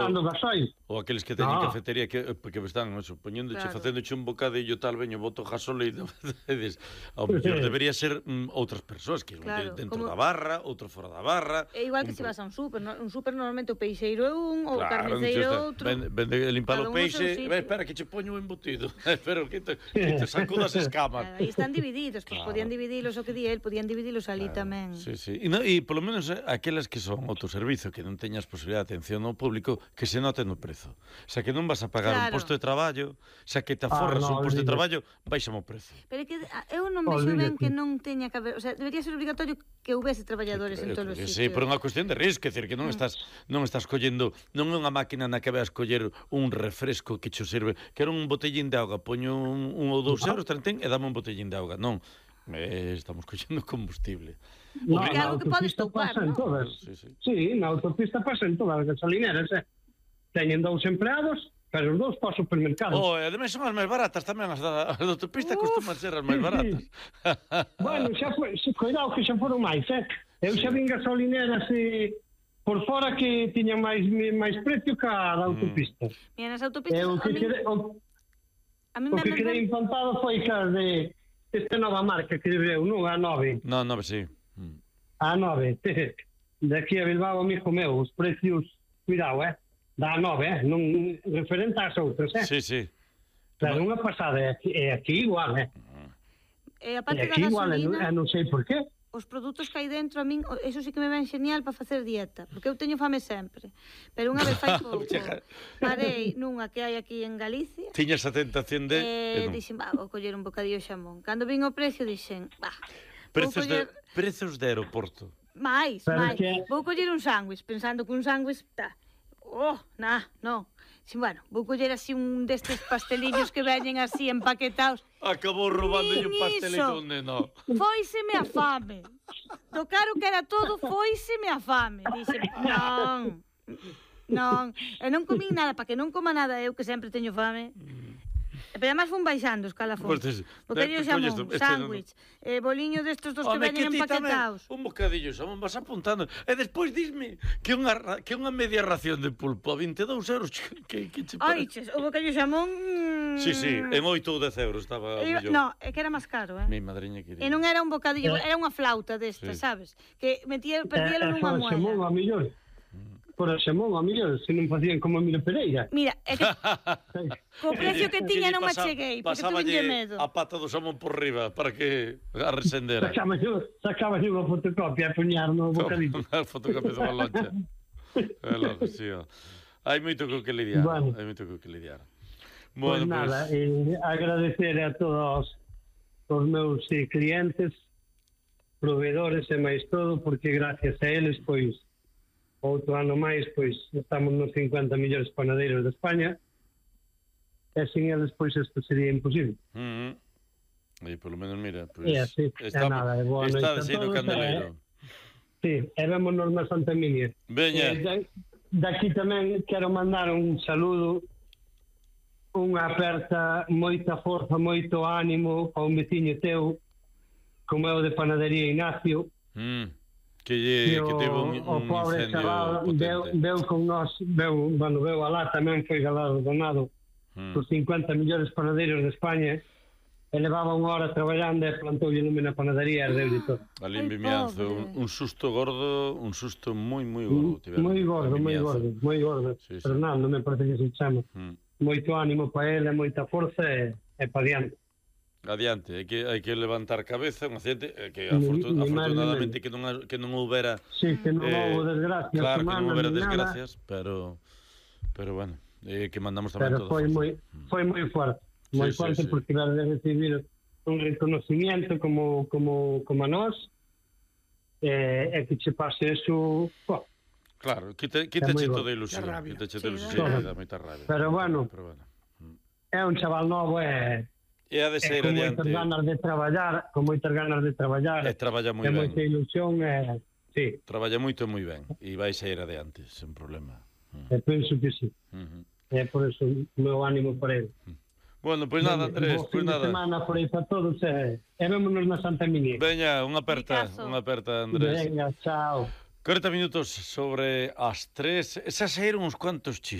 dando gasoil. Ou aqueles que teñen cafetería que están, poñéndoche, facéndoche un bocadillo tal, veño, boto gasolina. Ao mellor debería ser outras persoas, que dentro da barra, outro fora da barra. É igual que se vas a un súper, normalmente o peixeiro é un, o carniceiro é outro. Vende limpar o peixe, espera que che poño o embutido, espera que te sacudo as escamas. Aí están divididos, pois podían dividilos o que di el, podían dividilos ali tamén. Sí. E polo menos aquelas que son autoservizo, que non teñas posibilidade de atención ao público, que se note no prezo. O sea, que non vas a pagar un posto de traballo, o sea, que te aforras un posto de traballo, baixame o prezo. Pero é que eu non vexo ben que non teña que haber, o sea, debería ser obligatorio que houvese traballadores en todos os sitios. Sí, por unha cuestión de risco, é dicir, que non estás collendo, non é unha máquina na que vas coller un refresco que cho sirve, que era un botellín de auga, poño un ou 2 euros, e dame un botellín de auga, non. Estamos collendo combustible. Porque algo que podes topar, non? Sí, na autopista pasan todas as gasolineras, teñen 2 empleados, pero os 2 para o supermercado. E ademais son as máis baratas tamén, as da autopista costuman ser as máis baratas. Bueno, cuidado que xa foron máis, Eu xa vin gasolineras por fora que tiñan máis precio que a da autopista. Mira, nas autopistas... O que quedei impantado foi que as de esta nova marca que veu, non? A 9. No, 9, sí. A 9. De aquí a Bilbao, amigo meu, os precios, cuidado, da 9, non referente ás outras, Sí. Claro, unha pasada, é aquí igual, E a parte da gasolina... non sei por qué. Os produtos que hai dentro, a min, eso sí que me ven genial para facer dieta, porque eu teño fame sempre. Pero unha vez fai pouco, parei nunha que hai aquí en Galicia. Tiñas a tentación de... Dixen, vou coller un bocadillo de xamón. Cando vin o precio, dixen, Prezos de aeroporto. Mais. Vou coller un sándwich, pensando que un sándwich... non. Bueno, vou coller así un destes pastelillos que veñen así empaquetados. Acabou roubándolle un pastelito un neno. Fóiseme a fame. Do caro que era todo, fóiseme a fame. Dixe, non. E non comín nada, para que non coma nada eu, que sempre teño fame. Pero además fun baixando os calafóns. Bocadillo xamón, sándwich, boliño destos dos que veñen empaquetados. Un bocadillo xamón, vas apuntando. E despois disme que unha media ración de pulpo a 22 euros. Que che parece? O bocadillo xamón... Sí, en 8 ou 10 euros estaba mellor. No, é que era máis caro, Mi madriña querida. E non era un bocadillo, era unha flauta destas, sabes? Que perdíalo nunha moeda. Xamón a millón. Por a xamón a millón, se non facían como a Mira Pereira. Mira, é que co precio que tiña non me cheguei, porque tuve medo. A pata do xamón por riba para que a resendera. Sacaba unha fotocopia a puñar no bocadillo. Unha fotocopia dunha loncha. Hai moito que lidiar. Pues nada, agradecer a todos os meus clientes, proveedores e máis todo, porque gracias a eles, pois, outro ano máis, pois, estamos nos 50 millores panadeiros de España, e sin eles, pois, isto sería imposible. E polo menos, mira, pois, está desendo candeleiro. Sí, e vémonos na Santa Emilia. Veña. Daqui tamén quero mandar un saludo, unha aperta, moita forza, moito ánimo a un veciño teu, como é o de Panadería Ignacio, que teve un incendio potente. Veu con nós, veu alá tamén, foi galardonado por 50 millores panadeiros de España, e levaba unha hora traballando e plantoulle lume na panadería e deu de todo. Ali en Vimianzo, un susto gordo, un susto moi gordo. Moi gordo. Fernando, me parece que se chama. Moito ánimo para ele, moita forza e para diante. Adiante, hai que levantar cabeza, un accidente que afortunadamente que non houbera... Sí, que non houve desgracias. Claro, que non houbera desgracias, pero bueno, que mandamos tamén todo. Pero foi moi forte, porque vas a recibir un reconocimiento como a nós, e que che pase eso... Claro, quítache toda a ilusión, dá moita rabia. Pero bueno, é un chaval novo e... E ha de ser adiante. Con moitas ganas de traballar. E traballa moi ben. E moita ilusión, sí. Traballa moito e moi ben. E vai sair adiante, sen problema. E penso que sí. É por eso o meu ánimo por ele. Bueno, pois nada, Andrés, pois nada. Semana por aí para todos e vémonos na Santa Emilia. Veña, unha aperta, Andrés. Veña, chao. 40 minutos sobre as 3. Esas eran uns cuantos chistes.